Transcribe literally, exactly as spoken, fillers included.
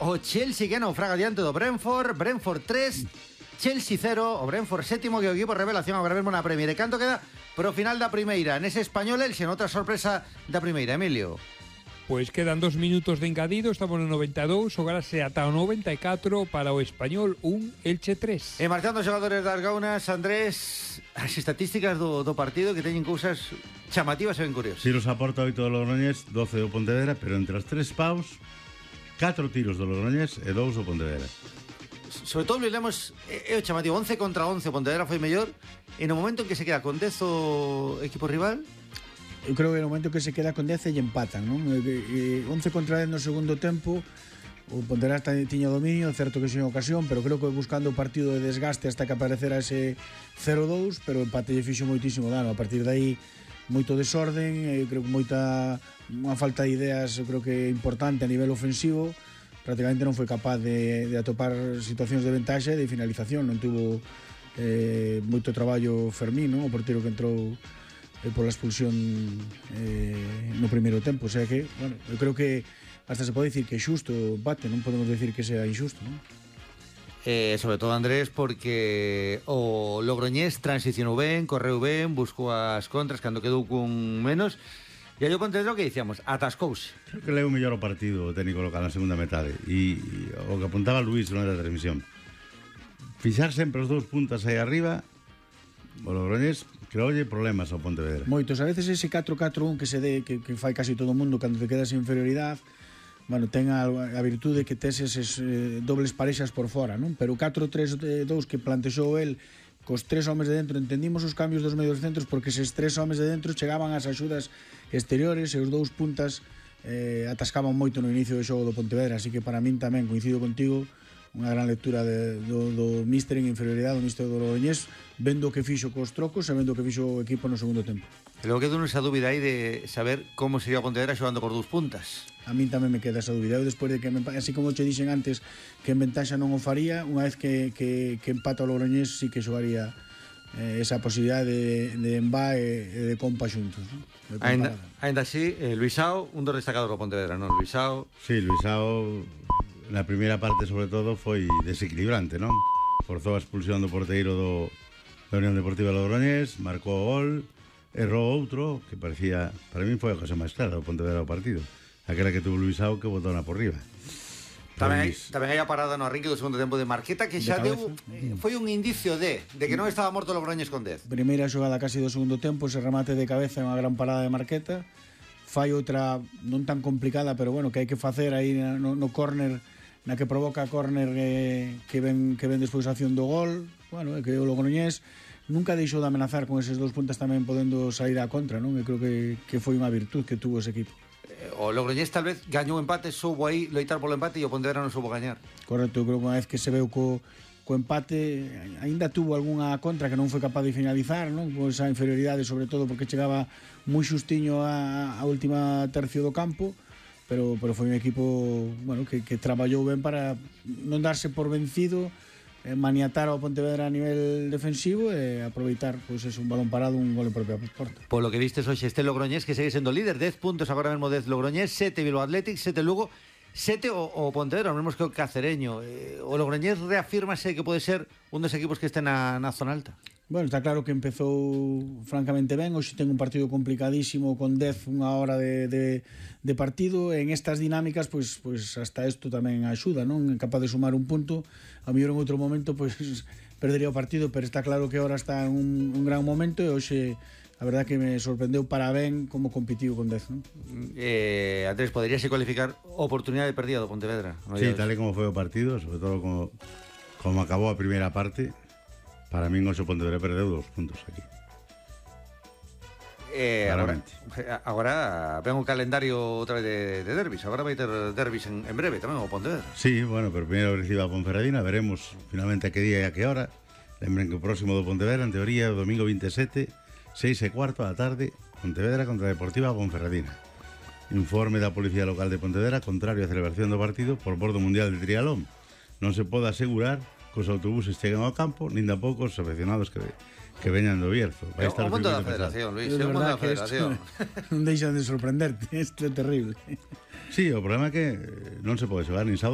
o Chelsea que naufraga diante do Brentford. Brentford tres, Chelsea cero. O Brentford sétimo, que o equipo revelación agora mesmo na Premier. E canto queda pro final da primeira? Nese Español, el sen outra sorpresa da primeira, Emilio. Pois quedan dos minutos de engadido, estamos no noventa e dous, xogárase ata o noventa e catro para o Español un, Elche tres. E marchando os xogadores das Gaunas, Andrés, as estatísticas do, do partido que teñen cousas chamativas e ben curiosas. Tiros a porta oito do Logroñés, doce do Pontevedra, pero entre os tres paus, catro tiros do Logroñés e dous do Pontevedra. Sobre todo, lemos, é o chamativo, once contra once, o Pontevedra foi mellor, e no momento en que se queda con dez o equipo rival... Eu creo que no momento que se queda con dez e empatan, non? E, e, once contra dez no segundo tempo, o Pontevedra tiña dominio, certo que sin ocasión, pero creo que buscando o partido de desgaste hasta que aparecera ese cero dous, pero o empate lle fixo moitísimo dano. A partir de aí, moito desorden, e creo que moita unha falta de ideas, eu creo que importante a nivel ofensivo. Prácticamente non foi capaz de, de atopar situacións de ventaxa e de finalización. Non tuvo eh, moito traballo Fermín, non? O portero que entrou eh, pola expulsión eh, no primeiro tempo. O sea que, bueno, eu creo que hasta se pode dicir que é xusto o empate, non podemos decir que sea injusto, non? Eh, sobre todo, Andrés, porque o Logroñés transicionou ben, correu ben, buscou as contras cando quedou con menos. E aí o Pontevedra, que dicíamos, atascouse. Creo que leu mellor o partido o técnico local na segunda metade. E, e o que apuntaba Luís non era a transmisión. Fixar sempre os dous puntas aí arriba, o Logroñés creoulle problemas ao Pontevedra. Moitos, a veces ese catro catro un que se dé, que, que fai casi todo o mundo cando te quedas en inferioridade, bueno, ten a, a virtude que tes eses eh, dobles parexas por fora, non? Pero o catro tres dous que plantexou el cos tres homes de dentro, entendimos os cambios dos medios centros porque eses tres homes de dentro chegaban ás axudas exteriores e os dous puntas eh, atascaban moito no inicio do xogo do Pontevedra, así que para min tamén, coincido contigo, unha gran lectura de, do, do míster en inferioridade, do míster do Logroñés, vendo o que fixo cos trocos e vendo o que fixo o equipo no segundo tempo. E logo quedou esa dúbida aí de saber como sería o Pontevedra xogando por dous puntas. A min tamén me queda esa dúbida. Eu despois de que, me, así como che dixen antes, que en ventaxa non o faría, unha vez que, que, que empata o Logroñés, sí que xogaría eh, esa posibilidade de, de Embá e de Compa xuntos, ¿no? Ainda, ainda así, eh, Luisao, un dos destacados do Pontevedra, non? Luisao... Sí, Luisao, na primeira parte, sobre todo, foi desequilibrante, non? Forzou a expulsión do porteiro do, da Unión Deportiva Logroñés, marcou o gol, errou outro, que parecía, para mí foi a cosa máis clara do Pontevedra do partido. Aquela que tuvo Luisao que botou na por riba. Tamén hai, tamén hai a parada no arranque do segundo tempo de Marqueta que xa deu, eh, foi un indicio de de que non estaba morto Logroñés con dez. Primeira xogada casi do segundo tempo, ese remate de cabeza, unha gran parada de Marqueta. Fai outra non tan complicada, pero bueno, que hai que facer aí no, no córner, na que provoca a córner eh, que ven que ven despois a acción do gol. Bueno, é que o Logroñés nunca deixou de amenazar con eses dous puntas tamén podendo sair á contra, non? Eu creo que, que foi unha virtud que tuvo ese equipo. O Logroñés tal vez gañou empate, soubo aí loitar polo empate e o Pontevedra non soubo gañar. Correcto, eu creo que unha vez que se veu co, co empate aínda tuvo algunha contra que non foi capaz de finalizar, non? Con esa inferioridade, sobre todo porque chegaba moi xustiño a, a última tercio do campo, pero, pero foi un equipo, bueno, que, que traballou ben para non darse por vencido, eh, maniatar ao Pontevedra a nivel defensivo e aproveitar, pois, pues, un balón parado, un gol en propia porta. Polo que vistes hoxe este Logroñés que segue sendo líder, dez puntos agora mesmo, dez Logroñés, sete Bilbao Athletic, sete Lugo, sete o, o Pontevedra, o mesmo que o Cacereño. Eh, o Logroñés reafírmase que pode ser un dos equipos que este na, na zona alta. Bueno, está claro que empezou francamente ben. Hoxe ten un partido complicadísimo con dez, unha hora de, de, de partido. En estas dinámicas, pois, pois hasta isto tamén axuda, non? Capaz de sumar un punto. A mellor en outro momento pois perdería o partido, pero está claro que ahora está en un, un gran momento e hoxe a verdad que me sorprendeu para ben como compitiu con dez, non? Eh, Andrés, poderíase cualificar oportunidade perdida do Pontevedra? No Sí, tal e como foi o partido, sobre todo como, como acabou a primeira parte. Para min hoxe o Pontevedra perdeu dos puntos aquí. Eh, agora, agora ven un calendario outra vez de, de derbis. Agora vai ter derbis en, en breve tamén o Pontevedra. Sí, bueno, pero primeiro recibe a Ponferradina. Veremos finalmente a que día e a que hora. Lembren que o próximo do Pontevedra, en teoría, o domingo veintisiete, seis e cuarto da tarde, Pontevedra contra Deportiva Ponferradina. Informe da Policía Local de Pontevedra contrario á celebración do partido por mor do Mundial de Trialón. Non se pode asegurar que os autobuses cheguen ao campo, nin tampouco os afeccionados que, que veñan do Bierzo. Vai estar o mundo da Federación, Luis, é o mundo da Federación. Non deixan de sorprenderte, isto é terrible. Sí, o problema é que non se pode xogar nin sábado